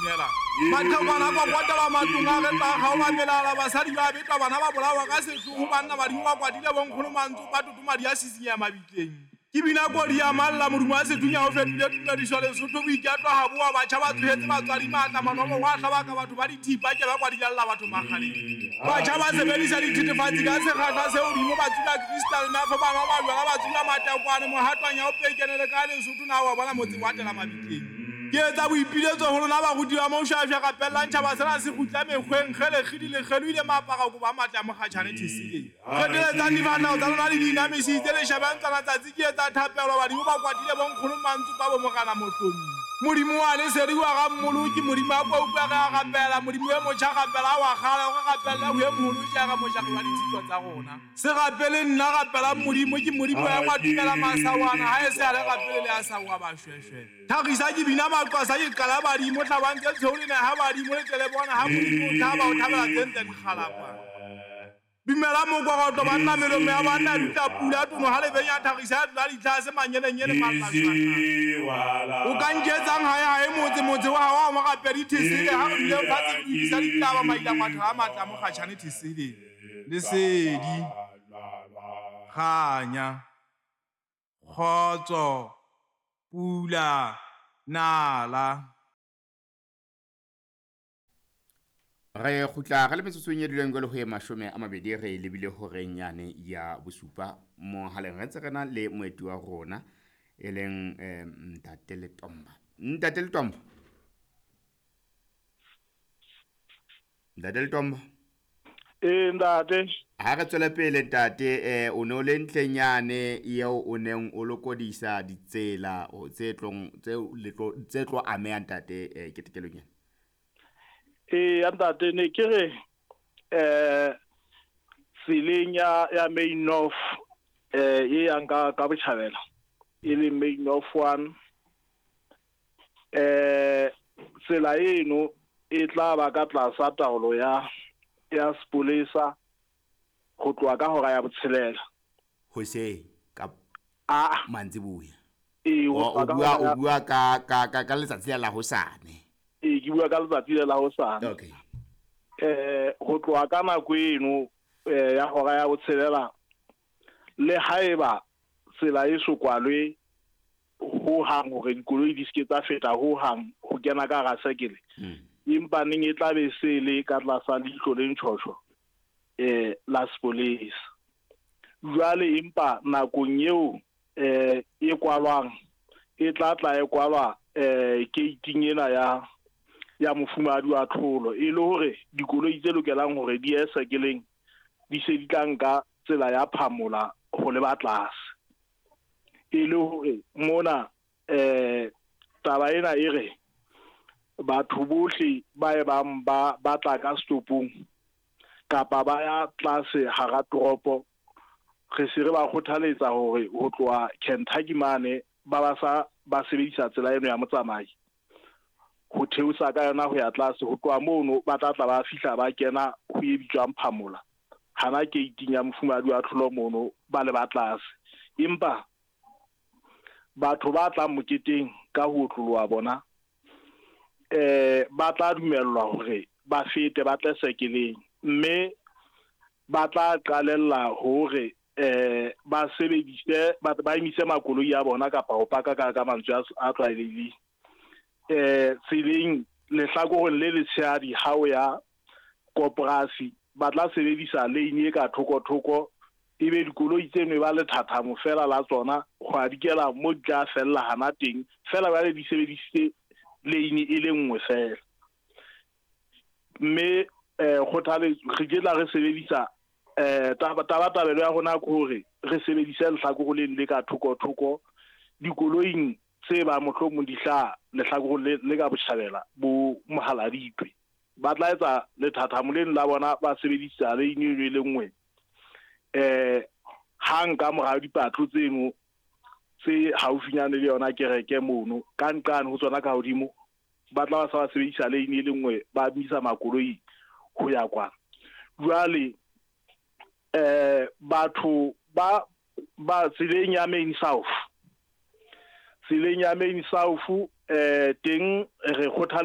binela. Mathekwana a kokotela matlong a re tla kgaola melala, basadi ba betwa, bana ba bolawa ka sehloho, banna badimo ba kwatile, bonkgono mantsopa toto madi a sisinyeha mabitleng. Ke bina kodi ya malla, modumo wa sethunya o fetohile tumediso, Lesotho boiketlo ha boa, batjha ba tsohetse batswadi matla, manomo wa hlabaka batho ba dithipa ke ba kwa di jalla batho makgaleng. Batjha ba sebedisa dithethefatsi ka sekgahla se hodimo, ba tsuba crystal meth, ba nwa majwala, ba tsuba matekwane, mohatwanya o pekene le ka Lesotho na wa bona motse wa tela mabitleng. Ke etsa boipiletso ho lona baruti ba Moshoashoa, rapellang tjhaba sena se kgutla mekgweng, kgele kgidi lekgelo ile maapara kobo a matle a mokgatjhane theseleng. Reteletsang difahleho tsa lona le di inamisitse, le shebe ntlwana tsatsi. Ke etsa thapelo, badimo ba kwatile, bonkgono mantsopa bo morena mohlomi. Modimo wa lesedi wa ga mmoloki, Modimo a ko utlwe re a rapela, Modimo e motjha rapela wa kgale, re rapelle ho e moholo jara mojari wa ditshito tsa rona. Se rapele nna, rapelang Modimo, ke Modimo ya engwa tumela masawana, ha e se a le rapele le a sa wa bashweshwe. Thagisa ke bina maqwasa ke qala badimo, hlabang tse tshweu le neha badimo, le tle le bona ha Modimo o thaba, o thabela tse ntle dikgalapa. Dumela mokorotlo banna, melomo ya banna e dutla pula, tono ha le benya thagisa ya tlola ditlhase, manyenenyene mallashwasha. O ka nketsang hae hae motse, motse wa hao wa morapedi thesele, ha re duleng fatshe re lokisa ditaba, maila matho a matla a mokgatjhane thesele. Lesedi, kganya, kgotso, pula, nala. Re kgutla re le metsotsong e duleng jwale ho e 20 re lebile horeng yane ya bosupa mohaleng. Re ntse re na le moeti wa rona e leng Ntate Letomba. Ntate Letomba. Ntate Letomba. Ee, ntate. Ha re tswele pele ntate, o ne o le ntleng yane eo o neng o lokodisa ditsela tse tlong tse tlo ameha ntate ketekelong ena. Ee, ntate, ne ke re tseleng ya Main North e yang ka botjhabela, e leng Main North 1, tsela eno e tla ba ka tlasa taolo ya sepolesa ho tloha ka hora ya botshelela hoseng ka mantsiboya. Ee, o bua ka letsatsi la hosane. Ee, ke bua ka letsatsi la hosane. Okay. Ho tloha ka nako eno ya hora ya botshelela, le haeba tsela e so kwalwe ho hang hore dikoloi di seke tsa feta ho hang ho kena ka hara sekele, empa neng e tla be se le ka tlasa leihlo le ntjhotjho la sepolesa. Jwale empa nakong eo e kwalwang, e tla tla e kwalwa gate-ing ena ya mofumahadi wa tlholo, e le hore dikoloi tse lokelang hore di ye sekeleng di se di tla nka tsela ya Phamola ho leba tlase. E le hore mona taba ena e re batho bohle ba e bang ba batla ka stopong kapa ba ya tlase hara toropo, re se re ba kgothaletsa hore ho tloha Kentucky mane ba sa ba sebedisa tsela eno ya motsamai ho theosa ka yona ho ya tlase. Ho tloha mono ba tla tla ba fihla ba kena ho e bitswang Phamola, hana gate-ing ya mofumahadi wa tlholo mono ba le ba tlase. Empa batho ba tlang moketeng ka ho otloloha bona ba tla dumellwa hore ba fete ba tle sekeleng, mme ba tla qalella hore ba sebedise ba emise makoloi a bona kapa ho paka ka mantswe a tlwaelehileng tseleng lehlakoreng le letshehadi ha o ya koporasi, ba tla sebedisa lane e ka thoko-thoko, ebe dikoloi tseno e ba lethathamo fela la tsona ho a dikela mo di tla fella hana teng fela, jwale di sebedisitse lane e le nngwe fela. Mme kgothaletso re ke tla re sebedisa tabatabelo ya rona ke hore re sebedise lehlakore leno le ka thoko-thoko dikoloing tse ba mohlomong di hlaha lehlakoreng le ka botjhabela bo Mohaladitwe. Ba tla etsa lethathamo leno la bona ba sebedisa lane eno e le nngwe hang ka mora dipatlo tseno tse haufinyane le yona kereke mono ka nqane ho tsona ka hodimo, ba tla ba sa ba sebedisa lane e le nngwe ba emisa makoloi ho ya kwana. Jwale batho ba tseleng ya Main South, tseleng ya Main South teng re kgothaletsa